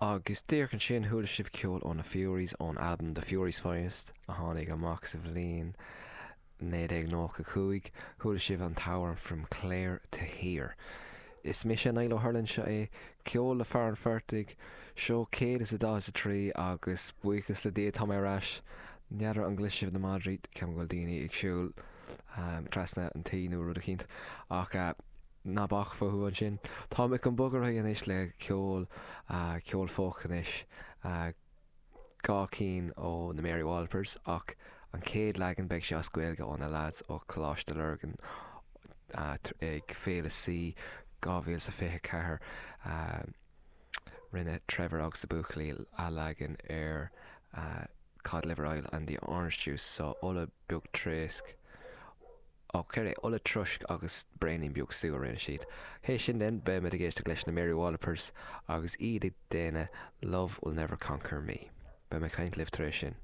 Agus díreach ansin chuala sibh ceol ó na Fureys ón albam The Fureys Finest a tháinig amach sa bhliain 1995. Chuala sibh an t-amhrán From Clare to Here. Is mise Niall Ó hUrlain, seo é Ceol le Fear an Phortaigh, seó 143 agus buíochas le Dia tá mé ar ais. N'fheadar an gcloiseann sibh na madraí, ceapaim go bhfuil daoine ag siúl trasna an tí nó rud eicínt ach ná bac fúthu ansin. Táim chun bogadh ar aghaidh anois le ceol, ceol folk anois, 2 cinn ó na Mary Wallopers ach an chéad leagan beidh sé as Gaeilge ó na lads ó Choláiste Lurgan ag Féile C 2024. Rinne Trevor agus na buachaillí athleagan ar Cod Liver Oil and the Orange Juice so ola beag troisc, ó céard é, ola troisc agus braoinín beag sú a rinne siad. Théis sin then beimid ag éisteacht leis na Mary Wallopers agus iad ag déanamh Love Will Never Conquer Me. Beidh mé ag caint libh tar éis sin.